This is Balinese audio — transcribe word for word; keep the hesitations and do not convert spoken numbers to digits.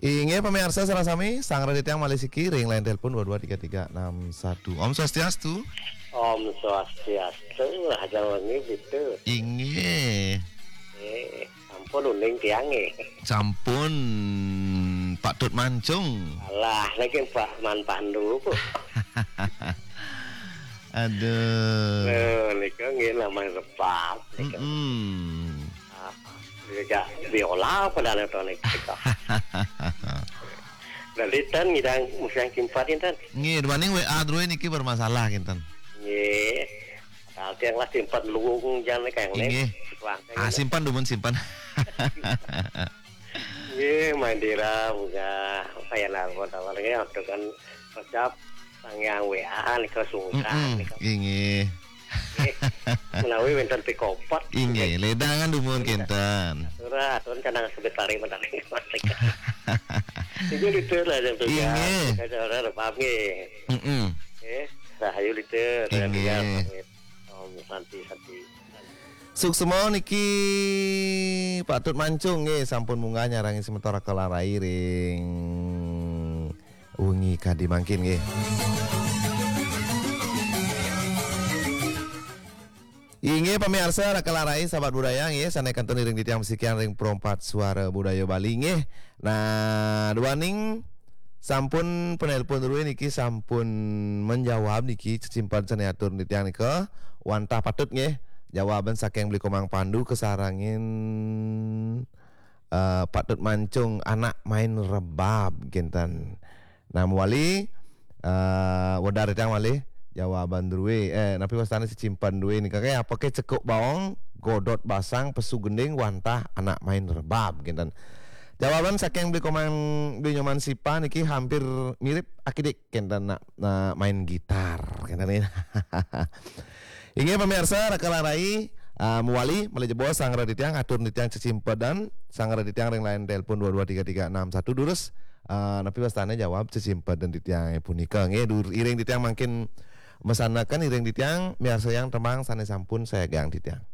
Inggih pamiarsa sareng sami, sareng titiang malih siki ring line telepon dua dua tiga tiga enam satu. Om Swastiastu. Om Swastiastu, rahajeng wengi Bitu. Inggih. Eh, sampun uning tiang nggih. Sampun patut mancung. Alah, niki Pak Man Pandu, Bu. Aduh. Eh, nika nggih namanya rebab. Mm-mm. Ah, ya, biola padahal to niki. Dadi ten ngidang musang kimpat ten. Nggih, duaning W A drué niki bermasalah kinten. Nggih. Padahal tiang lah simpen luung jan kang Inggih. Wah, Ah, simpan dumun simpan. Nggih, Mandira munggah kaya narwa tawar nggih untuk kan ngucap sangyang W A nika sungkan Mm-mm. nika. Inggih. Nggih. Menawi wenten pikopot. Inggih, ledangan dumun kinten. Ora, atur canang sebetari menawi. Inggih, Litur, lah yang tugas. Inggih. Ada orang rebab nggih. Mm-mm. Nggih, rahayu, Litur. Inggih. Om Santi Santi. Suksma niki patut mancung nggih, sampun munggah nyarengi semeton Raka Larai ring wengi kadi mangkin nggih. Inggih pamiarsa Raka Larai sahabat budaya nggih, sané kantun iring titiang masikian ring Pro empat Suara Budaya Bali nggih. Nah, duaning sampun penelpon drué niki sampun menjawab niki cecimpedan sané atur titiang nika wantah patut nggih. Jawaban saking Beli Komang Pandu kasarengin eh, patut mancung anak main rebab kinten. Nah, mawali eh, wedar titiang malih jawaban drué eh napi wastané cecimpedan drué nika kayak apa ke cekuk baong, godot basang, pesu gending wantah anak main rebab kinten. Jawaban saking Beli Komang Beli Nyoman Sipa niki hampir mirip akidik kinten nak, nak main gitar kinten niki. Inggih pamiarsa Raka Larai ah, mawali malih jebos sareng titiang atur titiang cecimpedan sareng titiang ring line telepon dua dua tiga tiga enam satu durus ah, napi wastané jawab cecimpedan titiang punika nggih dur iring titiang mangkin mesanaken iring titiang miarsayang tembang sané sampun sayagang titiang.